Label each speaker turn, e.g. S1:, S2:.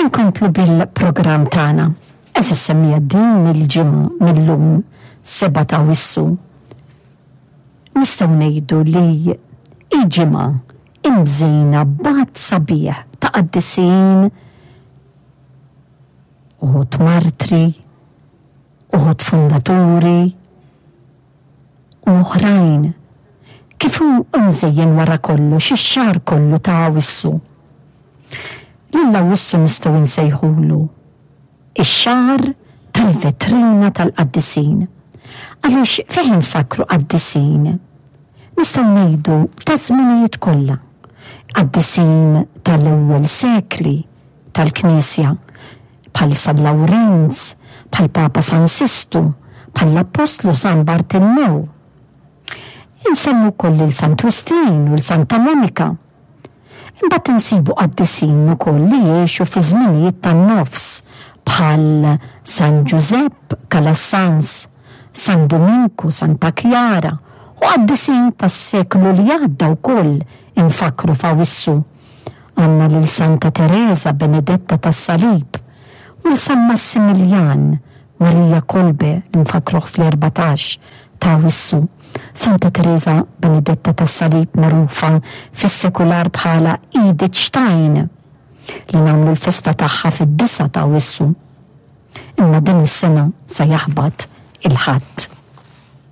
S1: Inkomplu bil-programm tagħna. Għeżież semmiegħa din il-ġimgħa mil-lum 7 ta' Awwissu nistgħu ngħidu li hi ġimgħa imżejna b'għadd sabiħ ta' qaddisin, uħud martri, uħud fundaturi, u oħrajn, kif hu mżejjen wara kollox ix-xahar kollu ta' Awwissu. Lil Awwissu nistgħu nsejħulu ix-xahar tal-vetrina tal-qaddisin, għaliex fih infakkru qaddisin, nistgħu ngħidu taż-żminijiet kollha, qaddisin tal-ewwel sekli tal-Knisja, bħal San Lawrenz, bħall-Papa San Sistu, bħall-Appostlu San Bartilmew. Insemmu wkoll lil Sant Wistin u 'l Santa Monika. Imbagħad insibu qaddisin ukoll li għexu fi żminijiet tan-nofs bħal San Ġużepp Calasanz, San Duminku, Santa Kjara u qaddisin tas-seklu li għadda wkoll infakkru f'Awissu. Għandna lil Santa Tereża Benedetta tas-Salib u 'l San Massimiljan Marija Kolbe li nfakkruh fl-14 ta' Awwissu. Santa Tereża Benedetta tas-Salib magħrufa fis-sekular bħala Edith Stein li nagħmlu l-festa tagħha fid-disgħa ta' Awwissu. Imma din is-sena se jaħbat il-Ħadd.